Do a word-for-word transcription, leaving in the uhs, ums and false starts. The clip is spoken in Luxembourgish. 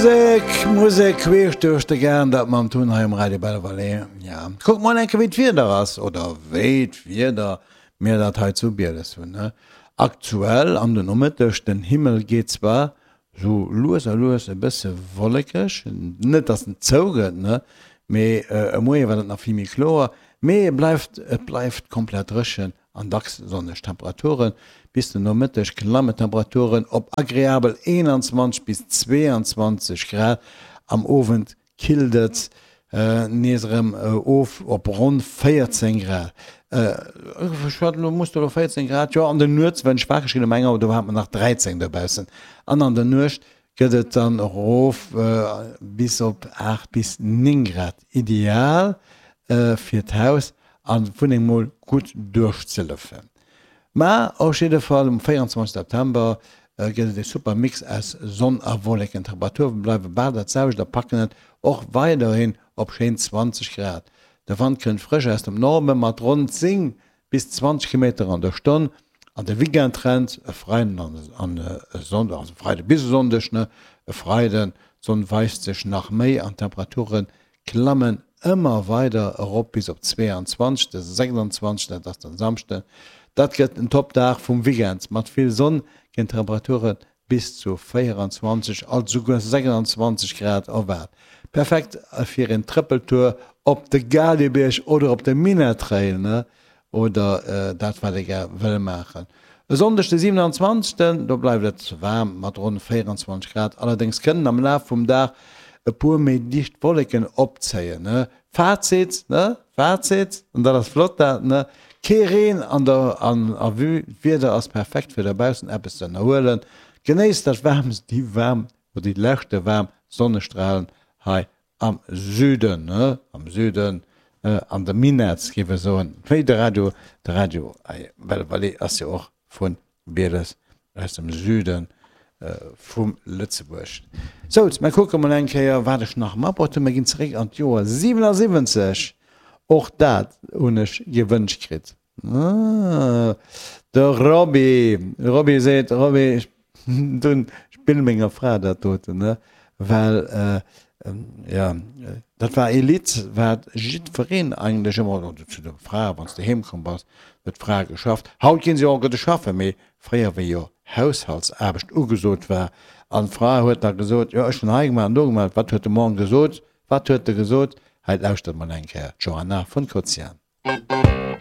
Musek, Musek queesch duerch de Gaart, dat mam Tun hei um Radio Belval. Ja, kuck mol eng Kéier, wéi d'Wieder ass, oder wéi d'Wieder mir dat hei zu Bieles hunn. Ne? Aktuell an den Nomëtteg, den Himmel geet zwar sou lues a lues e bësse wollekeg, net dass en zougëtt, ne, mee e Moie war dat nach vill méi kloer, mee et bleift, et bleift komplett dréchen an dacks sonneg. Temperaturen, Bis den Nomëtteg klammen d'Temperaturen op agreabel eenanzwanzeg bis zweeanzwanzeg Grad, am Owend killt et nees erëm of op ronn véierzéng Grad. Ech hat elo, muss do elo véierzéng Grad, jo an der Nuets, wenn ech wakereg ginn um eng Auer, do hat mer nach dräizéng dobaussen an an der Nuecht gëtt et dann erof bis op aacht bis néng Grad. Ideal fir d'Haus an d'Wunneng mol gutt duerchzelëften. Mä op jidde Fall um véierundzwanzeg September gëtt et e super Mix aus Sonn a Wolleken. D'Temperature bleiwe bal dat selwecht a packen et och weiderhin op schéin zwanzeg Grad. De Wand kënnt frësch aus dem Norde mat ronn zéng bis zwanzeg Kilometer an der Stonn. An de Weekendtrend, e Freiden an e Sonndeg, also e Freide bis e Sonndeg, ne, e Freiden, d'Sonn weist sech nach méi an d'Temperature klammen ëmmer weider erop bis op zweeanzwanzeg, de sechsanzwanzeg, dat ass den Samschden. Dat gëtt en Top-Dag vum Weekend mat vill Sonn, ginn d'Temperature bis zu véierundzwanzeg, alt esouguer sechsandzwanzeg Grad erwaart. Perfekt fir een Trëppeltour op de Galiebierg oder op de Minettrail, ne? Oder dat wat ee gär wëll maachen. E Sonndeg de siewenanzwanzegsten, do bleift et waarm mat ronn véierundzwanzeg Grad, allerdéngs kënnen am Laf vum Dag e puer méi dicht Wolleken opzéien. Fazit, ne? Fazit, an dat ass flott dat, ne? Kee Reen an der an a Vue, d'Wieder ass perfekt fir dobaussen eppes ze ënnerhuelen. Genéisst dat waarmst, déi waarm oder déi leschte waarm Sonnestralen hei am Süden, ne? Am Süden, an de Minetts géif ech soen, wéi de Radio, de Radio Belle Vallée ass jo och vu Bieles aus dem Süde vum Lëtzebuerg. Souz, mer kucke mol eng Kéier, wat ech nach matbruecht hunn. Mer ginn zeréck an d'Joer siwenasiwwenzeg. Och dat hunn ech gewënscht kritt. De Roby, de Roby seet, Roby, ech dunn spill menger Fra dat doten, ne, well jo, dat war ee Lidd, wat jiddwereen eigentlech ëmmer, oder zu de Frae, wann s de heem komm bass, huet d'Fra geschafft. Haut ginn se jo och gudde schaffen, mee fréier, wéi jo Haushaltsaarbecht ugesot war an d'Fra huet da gesot, jo, ech hunn hei gemaach an do gemaach, wat huet de Mann gesot, wat huet e gesot? Hei lauschtert mol eng Kéier d'Joanna vun Kozian.